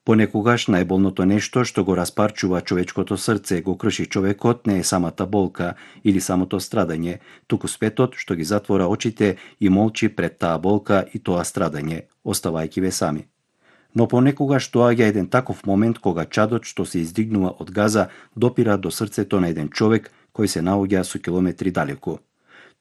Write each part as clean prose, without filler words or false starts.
Понекогаш најболното нешто што го распарчува човечкото срце, го крши човекот, не е самата болка или самото страдање, туку светот што ги затвора очите и молчи пред таа болка и тоа страдање, оставајќи ве сами. Но понекогаш доаѓа еден таков момент кога чадот што се издигнува од газа допира до срцето на еден човек кој се наоѓа со километри далеку.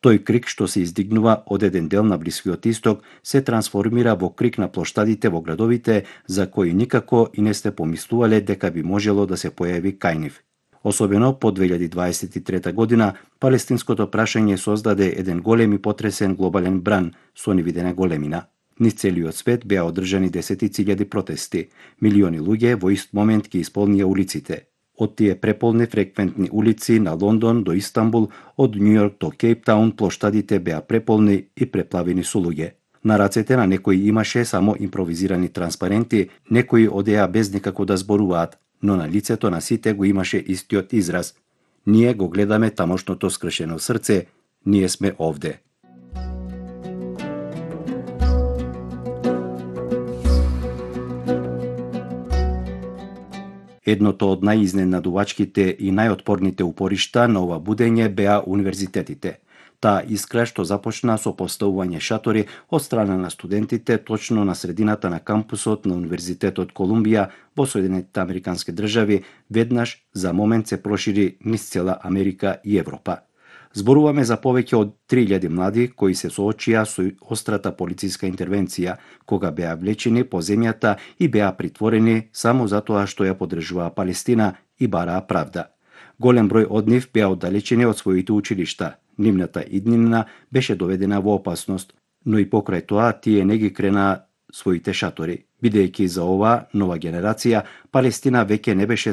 Тој крик што се издигнува од еден дел на Блискиот Исток се трансформира во крик на плоштадите во градовите за кои никако и не сте помислувале дека би можело да се појави кај нив. Особено по 2023 година, палестинското прашање создаде еден голем и потресен глобален бран со невидена големина. Низ целиот свет беа одржани десетици илјади протести, милиони луѓе во ист момент ги исполнија улиците. Од тие преполни фреквентни улици на Лондон до Истанбул, од Њу Јорк до Кейптаун, плоштадите беа преполни и преплавени со луѓе. На рацете на некои имаше само импровизирани транспаренти, некои одеа без никако да зборуваат, но на лицето на сите го имаше истиот израз. Ние го гледаме тамошното скршено срце, ние сме овде. Едното од најизненадувачките и најотпорните упоришта на ова будење беа универзитетите. Таа искра што започна со поставување шатори од страна на студентите точно на средината на кампусот на Универзитетот Колумбија во Соединетите Американски држави, веднаш за момент се прошири низ цела Америка и Европа. Зборуваме за повеќе од 3000 млади кои се соочија со острата полициска интервенција, кога беа влечени по земјата и беа притворени само затоа што ја поддржуваа Палестина и бараа правда. Голем број од нив беа оддалечени од своите училишта. Нивната иднина беше доведена во опасност, но и покрај тоа тие не ги кренаа своите шатори, бидејќи за оваа нова генерација Палестина веќе не беше